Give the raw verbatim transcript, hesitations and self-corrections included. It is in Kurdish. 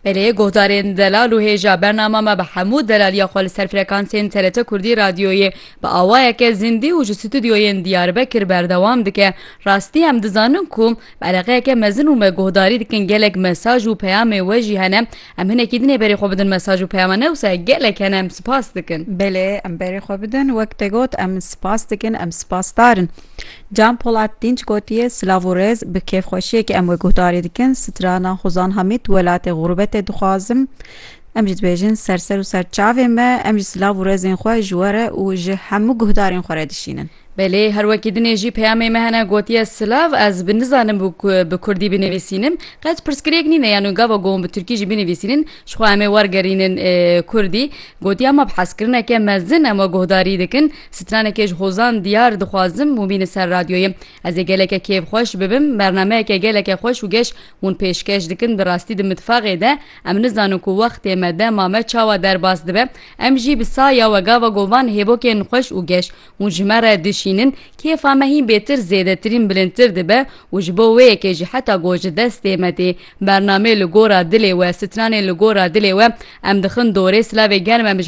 Belê, guhdarên delal û hêja, bernama me bi hemû delaliya xwe li ser frekansên T R T Kurdî Radyoyê bi awayeke zindî û ji stûdyoyên Diyarbekir berdewam dike. Rastî em dizanin ku bi eleqeyeke mezin û me guhdarî dikin, gelek mesaj û peyamê we jî hene. Em hinekî dinê berê xwe bidin mesaj û peyama ne wisa gelek hene, em spas dikin. Belê, em berê xwe bidin. Wek te got, em spas dikin, em spasdar in. Can Polat Dinç gotiye, silav û rêz, bi kêfxweşiyekê em we guhdarî dikin. Strana Hozan Hamîd, welatê xurbetê dixwazim. Em jî dibêjin ser ser û ser çavê me, em jî silav û rêzên xwe ji we re û ji hemû guhdarên xwe re dişînin. Belê, her wekî dinê jî peyamê me hene gotiye, silav, ez bi nizanim bi ku-, bi kurdî binivîsînim. Qet pirsgirêk nîne, yanî gava ku hûn bi tirkî jî binivîsînin, ji xwe em ê wergerînin, e, kurdî. Gotiye, ma bi hezkirineke mezin em we guhdarî dikin. Stranekê ji Hozan Diyar dixwazim û bînin ser radyoyê. Ez ê geleke kêfxweş bibim. Bernameyeke geleke xweş û geş hûn pêşkeş dikin. Bi rastî di mitfaxê de em nizanin ku wextê me, dema me çawa derbas dibe. Em jî bi saya we gava govan hêbokên xweş û geş hûn ji me re dişînin. Kêfa me hîn bêtir zêdetirîn bilindtir dibe û ji bo wê yekê jî heta ku ji destê me tê bernameyê Li Gora Dilê We, stranên Li Gora Dilê We, em dixin dorê. Silavê germ em